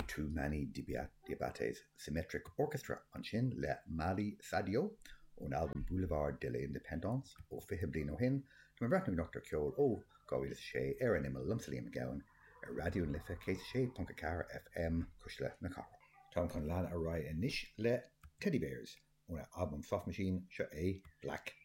Toumani Diabaté's Symmetric Orchestra ansin le Mali Sadio ón albam Boulevard de l'Indépendance ó 20 bliain ó shin. Tá mé ag breathnú anocht ar cheol ó 2006 ar an Imeall liomsa Liam Mac Gabhann ar Raidió na Life 106.4 FM, Cuisle na Cathrach. Táim chun leanadh ar aghaidh anois le Teddybears óna albam Soft Machine, seo é Black.